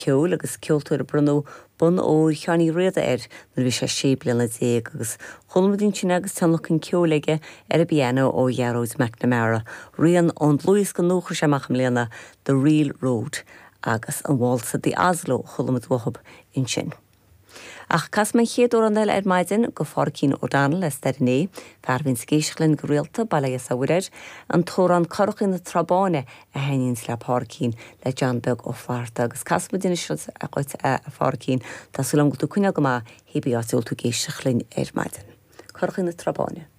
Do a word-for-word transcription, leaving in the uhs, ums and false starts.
Ceoil agus ceoltóir a bronnadh bonn óir Sheáin Uí Riada air nuair a bhí sé sé bliana déag agus chuala muid ansin agus tionlacan ceoil aige ar an bpianó ó Ghearóid McNamara, rian ón dlúthdhiosca nua a chuir sé amach i mbliana The Real Road agus an válsa The Oslo chuala muid uathu ansin. Ach casfaidh mé an chéad amhrán eile ar maidin go Phádraicín O'Donnell as Doire Né, fear a bhíonn ag éisteacht linn go rialta bail ó Dhia is ó Mhuire air, an t-amhrán Currachí na Trá Báine a thaitníonns le Pádraicín le John Beag Ó Flatharta agus casfaidh muid anois dhuit a Phádraicín Tá súil agam go bhfuil tú ag coinneáil go maith hé bí áit a bhfuil tú ag éisteacht linn ar maidin. Currachí na Trá Báine.